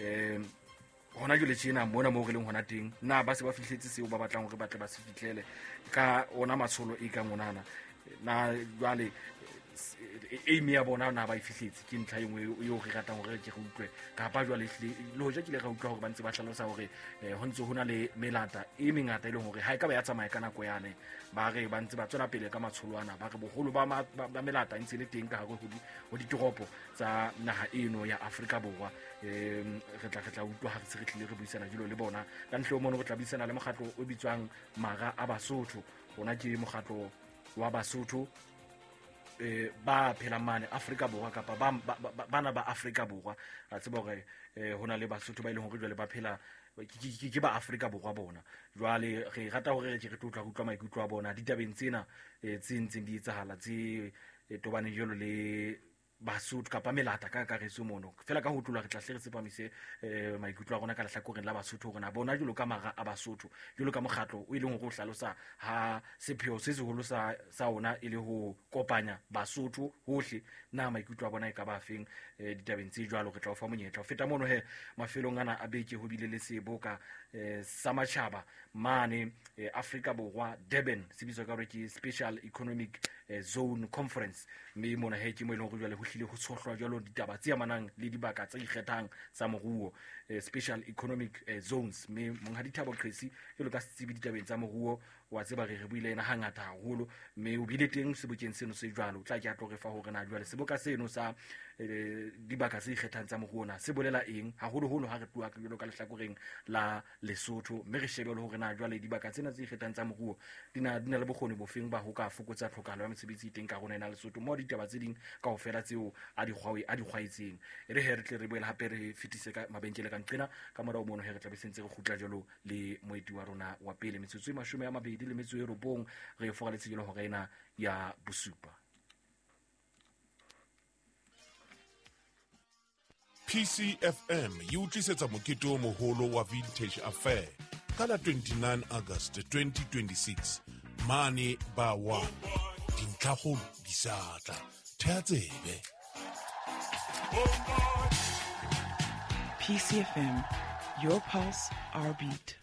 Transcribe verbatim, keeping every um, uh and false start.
um hona jwale tjena mona moo re leng hona teng, na ba se ba fihletse seo ba batlang hore ba tle ba se fihlele ka ona matsholo e kang onana? Na jwale aim ya bona na ba e fihletse? Ke ntlha e nngwe eo re ratang hore ke re utlwe, kapa jwale ehlile le hoja ke ile ra utlwa hore ba ntse ba hlalosa hore eh, ho ntse ho na le melata e mengata e leng hore ha e ka ba ya tsamaya ka nako yane, ba re ba ntse ba tswela pele ka matsholo ana, ba re boholo ba ma- ba ba melata e ntse e le teng ka hare ho di- ho ditoropo tsa naha eno ya Afrika Borwa. um re tla re tla utlwa ha re se re tlile re buisana jalo le bona. Ka ntle ho mono, re tla buisana le mokgatlo o bitswang Mara a Basotho. Ona ke mokgatlo wa Basotho eh ba phelang mane Afrika Borwa, kapa ba ba- ba- bana ba Afrika Borwa. Ra tseba hore eh, ho na le Basotho ba e leng hore jwale ba phela ke- ke ke ba Afrika Borwa bona. Jwale re rata hore re ke re tlo utlwa re utlwa maikutlo a bona ditabeng tsena eh, tse ntseng di etsahala, tse eh, tobaneng jwalo le Basotho kapa melata ka kakaretso mono. Fela ka ho tlola re tla hle re tsepamise eh, maikutlo a rona ka lehlakoreng la Basotho, hore na bona jwalo ka Mara a Basotho, jwalo ka mokgatlo o e leng hore o hlalosa ha sepheo se seholo sa sa ona e le ho kopanya Basotho hohle, na maikutlo a bona e ka ba feng eh, ditabeng tse jwalo? Re tla o fa monyetla. Ho feta mono he, mafelong ana a beke ho bile le seboka eh, sa matjhaba mane eh, Afrika Borwa, Durban, se bitswa ka hore ke Special Economic eh, Zone Conference. Mme mona he ke mo e leng hore jwale ho hlile ho tshohlwa jwalo ditaba tse amanang le dibaka tse ikgethang tsa moruo, eh, special economic eh, zones. Mme Monghadi Thabo Qesi, jwalo ka setsebi ditabeng tsa moruo, wa tseba re re buile ena hangata haholo, mme o bile teng sebokeng seno se jwalo. O tla ke a tlo re fa hore na jwale seboka seno sa eh, dibaka tse ikgethang tsa moruo na se bolela eng, haholoholo ha re tloha jwalo ka lehlakoreng la Lesotho, mme re shebe le hore na jwale dibaka tsena tse ikgethang tsa moruo di na di na le bokgoni bofeng ba ho ka fokotsa tlhokahalo ya mesebetsi e teng ka rona ena Lesotho, mo ditaba tse ding kaofela tseo a di kgwae- a di kgwaetseng. E re he re tle re boele hape re fetise ka mabenkele ka nqena. Ka morao mono he re tla be sentse re kgutla jwalo le moeti wa rona wa pele. Metsotso e mashome a mabedi le metso e robong re e foraletse jalo hora ena ya bosupa. P C F M e o tlisetsa mokete o moholo wa Vintage Affair ka la twenty-nine August twenty twenty-six mane ba wa dintlhakgolo di sa tla thea tsebe. P C F M, your pulse, our beat.